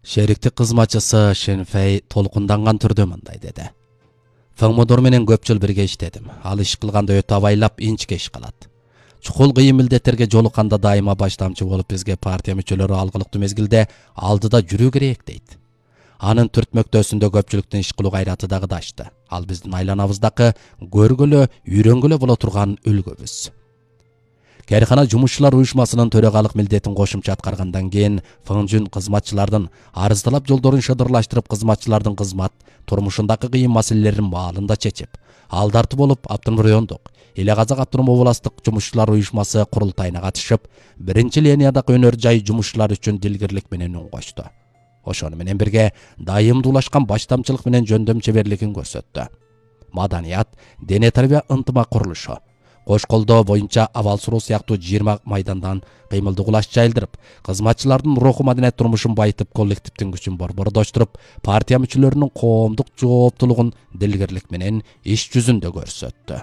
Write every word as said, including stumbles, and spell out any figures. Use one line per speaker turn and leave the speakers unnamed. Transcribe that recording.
Шериктик кызматчысы Шенфей толкунданган түрдө мындай деди. Фыңмодор менен көп жыл бирге иштедим. Ал иш кылганда өтө абайлап, инчке иш кылат. Чукул кыйын милдеттерге жолукканда дайыма баштамчы болуп бизге партия мүчөлөрү алгылыктуу мезгилде алдыда жүрүү керек дейт. Анын түртмөктөсүндө көпчүлүктүн иш кылуу кайраты дагы дашты. Ал биздин айланабыздагы көргөлө, үйрөнгөлө боло турган үлгүбүз. Кээркана жумушчулар уюшмасынын төрагалык милдетин кошумча аткаргандан кийин Фыңжүн кызматчылардын арыздалап жолдорун шыдырлаштырып, кызматчылардын кызмат турмушундагы кыйын маселелерин маалында чечип, алдартуу болуп Автономдук райондук Эле Казак автономдук областык жумушчулар уюшмасы курултайына катышып, биринчи линиядагы өнөр жай жумушчулар үчүн дилгирлик менен үн кошту. Ошону менен бирге дайымдуулашкан баштамчылык менен жөндөм чеберлигин көрсөттү. Маданият, дене тарбия ынтымак курулушу, кош колдоо боюнча абал суроо сыяктуу жыйырма майдандан кыймылдуу кулаш жайылдырып, кызматчылардын руху маданият турмушун байытып, коллективдин күчүн борбордоштуруп, партия мүчөлөрүнүн коомдук жооптуулугун дилгирлик менен иш жүзүндө көрсөттү.